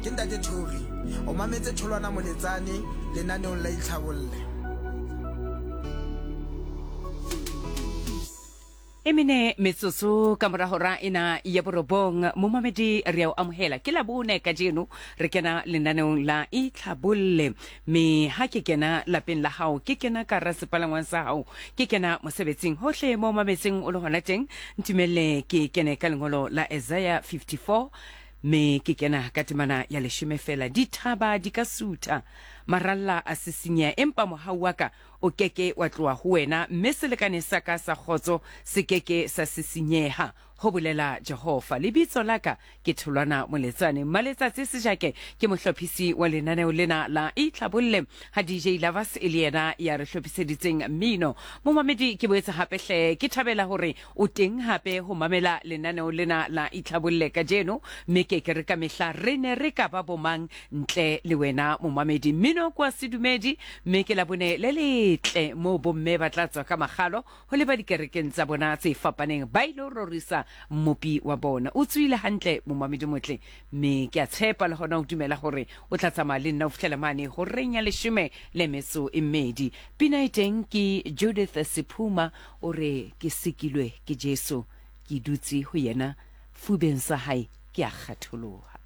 Ke Ntate Thori. O mametse Tholwana Moletsane lenaneong la Itlhabolle. E mene metsotso ka mora hora ena ya borobong, momamedi re a o amohela. Ke Labone kajeno re kena lenaneong la Itlhabolle. Me ha ke kena lapeng la hao, ke kena ka hara sepalangwang sa hao, ke kena mosebetsing, hohle mo mametseng o le hona teng, ntumelle ke kene ka lengolo la Isaiah 54 me ke kena ka temana ya leshome fela. Dithaba di ka sutha, maralla a sisinyeha, empa mohau wa ka o ke ke wa tloha ho wena, mme selekane sa ka sa kgotso se ke ke sa sisinyeha, ho bolela Jehova. Lebitso la ka ke Tholwana Moletsane. Mmaletsatsi Sejake ke mohlophisi wa lenaneo lena la Itlhabolle, ha DJ Lovers e le yena ya re hlophiseditseng mmino. Momamedi, ke boetse hape hle ke thabela hore o teng hape ho mamela lenaneo lena la Itlhabolle kajeno, mme ke ke re ka mehla re ne re ka ba bomang ntle le wena momamedi. Mmino ke wa sedumedi, mme ke Labone le letle moo bomme ba tla tswa ka makgalo ho leba dikerekeng tsa bona tse fapaneng ba ilo rorisa Mmopi wa bona. O tsoile hantle momamedi motle, mme ke a tshepa le hona o dumela hore o tla tsamaya le nna ho fihlela mane horeng ya leshome le metso e mmedi. Pina e teng ke Judith Sephuma o re ke sikilwe ke Jesu, ke dutse ho yena, fubeng sa hae ke a kgatholoha.